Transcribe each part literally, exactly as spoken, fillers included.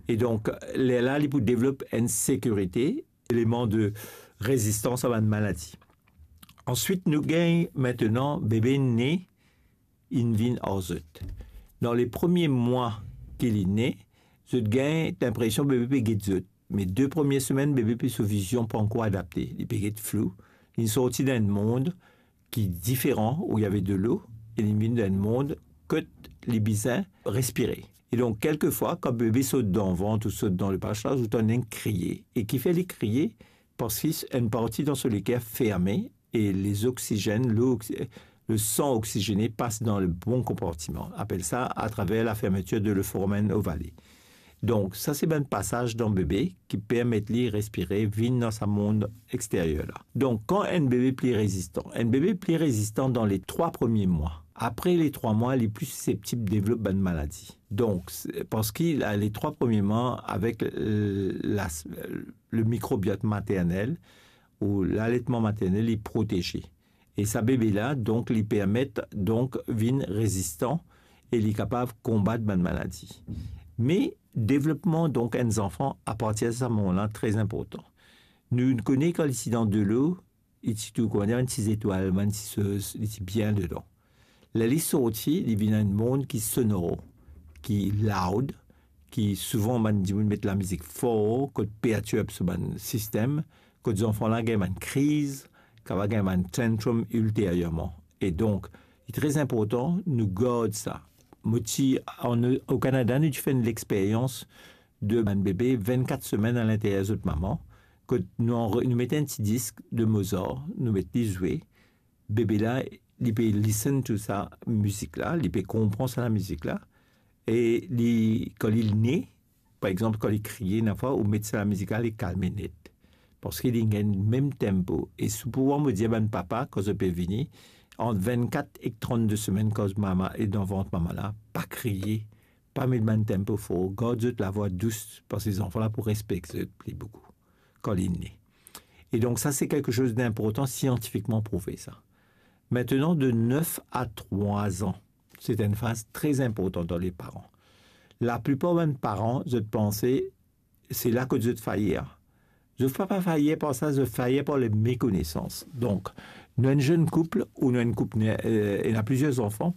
E donk, lerla li pou devlop enn sekirite, eleman de rezistans a bann maladi. Answit, nou gagn mintenan bebe ne, inn vinn ar zot. Dan le premie mwa ki li ne, zot gagn linpresion bebe pe get zot. Me de premie semenn, bebe pe so vizion pa ankor adapte. Li pe get flou. Li sorti dan enn mond ki diferan, ou ave delo, e li vinn dan enn mond kot li bizin respire. E donk, kelkefwa, kan bebe sot dan vant ou sot dan lepach la, ou tann li kriye. E kifer li kriye? Parski enn parti dan so leker ferme e les oxygènes, le, le san oxigene pas dan le bon konpartiman. Apel sa atraver la fermetir de le foramen ovale. Donk, sa se bann pasaz dan bebe ki permet li respire, vinn dan sa mond exteryer la. Donk, kan enn bebe pli rezistan? Enn bebe pli rezistan dan le trwa premie mwa. Apre le trwa mwa, li pli siseptib devlop bann maladi. Donk, se, parski la, le trwa premie mwa, avek, euh, la, le mikrobiot maternel ou laletman maternel, li proteze. E sa bebe la, donk, li permet, donk, vinn rezistan e li kapav konbat bann maladi. Me devlopman, donk, enn zanfan apartir de sa moman la, tre inportan. Nou kone kan li ti dan delo, li ti tou, kouma dir, bann ti zetwal, bann ti soz, li ti bien dedan. Ler li sorti, li vinn enn mond ki sonor, ki loud, ki souvan bann dimoun met lamizik for, kot pertirb so bann sistem, kot zanfan la gagn bann kriz, kapav gagn bann tantrum ilteryerman. E donk, li tre inportan nou gard sa. Mo ti, an, o Kanada, nou ti fer enn lexperyans de bann bebe vennkat semenn alinteryer zot mama, kot nou anre-, nou met enn ti disk de Mozart, nou met li zwe, bebe la, li pe listen to sa mizik la, li pe konpran sa lamizik la, e li, kan li ne, par exanp, kan li kriye, enn fwa, ou met sa lamizik la, li kalme net. Parski li gagn mem tenpo. E si pou mwa, mo dir bann papa, kan zot pe vini, ant vennkat ek trannde semenn, kan mama e dan vant mama la, pa kriye, pa met bann tenpo for, gard zot lavwa dous, parski zanfan la pou respekte zot pli boukou kan li ne. E donk, sa se kelke soz dinportan, siantifikman prouve sa. Mintenan, de nef a trwa an, se enn faz tre inportan dan le paran. Laplipar bann paran, zot panse se la kot zot fayer. Zot pa, pa fayer par sa, zot fayer par le mekonesans. Donk, nou enn zenn koup ou nou enn koup ne-, euh, ena plizier zanfan.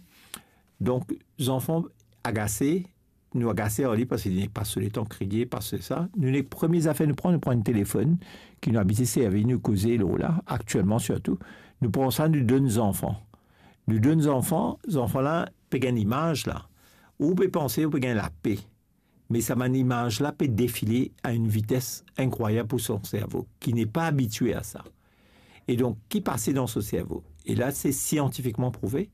Donk, zanfan agase, nou agase ar li parski li nek pas so letan kriye, pas sa. Nou nek premie zafer nou pran, nou pran enn telefonn ki nou abitue servi, nou koze lor la, aktielman sirtou. Nou pran sa, nou donn zanfan. Nou donn zanfan, zanfan la pe gagn imaz la. Ou pe panse ou pe gagn lape. Me sa bann imaz la pe defile a enn vites inkrwayab pou so servo, ki ne pa abitie a sa. E donk, ki pase dan so servo? E la, se siantifikman prouve,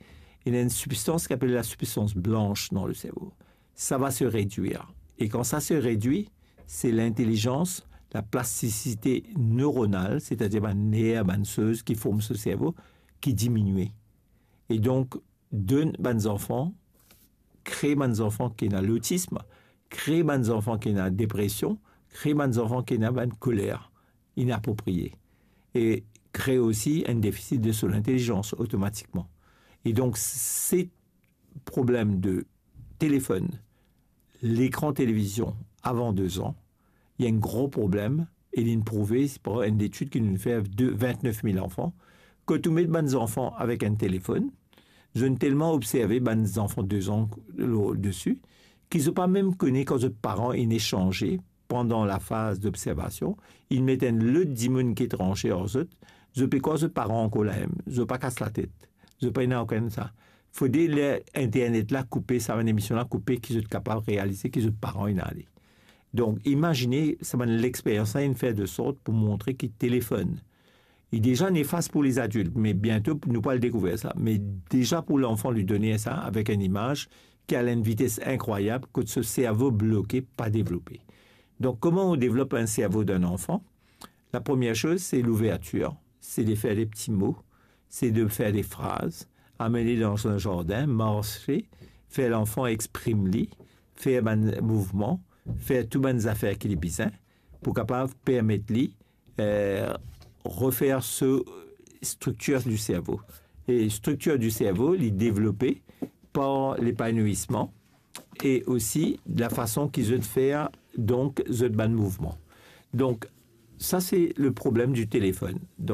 ena enn sibstans ki apel la sibstans blans dan le servo. Sa va se redwir. E kan sa se redwi, se lintelizans, la plastisite neuronal, setadir bann ner, bann soz ki form so servo, ki diminie. E donk, donn bann zanfan, kree bann zanfan ki ena lotism, kree bann zanfan ki ena depresion, kree bann zanfan ki ena bann koler inapropriye, e kree osi enn defisit de so lintelizans otomatikman. E donk, se problem de telefonn, lekran televizion avan de zan, li enn gro problem, e linn prouve par enn letid ki nou fer de vintnef mil zanfan, kot ou met bann zanfan avek enn telefonn, zot inn telman observe bann zanfan de zan lor desi, ki zot pa mem kone kan zot paran inn esanze pandan lafaz dobservasion, inn met enn lot dimoun ki etranze ar zot, zot pe krwar zot paran ankor la mem, zot pa kas latet, zot pa ena okenn sa. Fode ler internet la koupe, sa bann emision la koupe, ki zot kapav realize ki zot paran inn ale. Donk, imazine, sa bann lexperyans la inn fer de sort pou montre ki telefonn, li deza nefas pou lezadilt, me biento nou pou al dekouver sa. Me deza pou lanfan, li donn sa avek enn imaz ki al enn vites inkrwayab, kot so servo bloke, pa devlope. Donk, kouma ou devlop enn servo dan enn zanfan? La premie soz, se louvertir, se de fer de pti mo, se de fer de fraz, amenn li dan enn zardin, marse, fer lanfan exprim li, fer bann mouvman, fer tou bann zafer ki li bizin, pou kapav permet li, eh, refer so striktir di servo. E striktir di servo, li devlope par lepanouisman e osi lafason ki zot fer donk zot bann mouvman. Donk, sa se le problem di telefonn.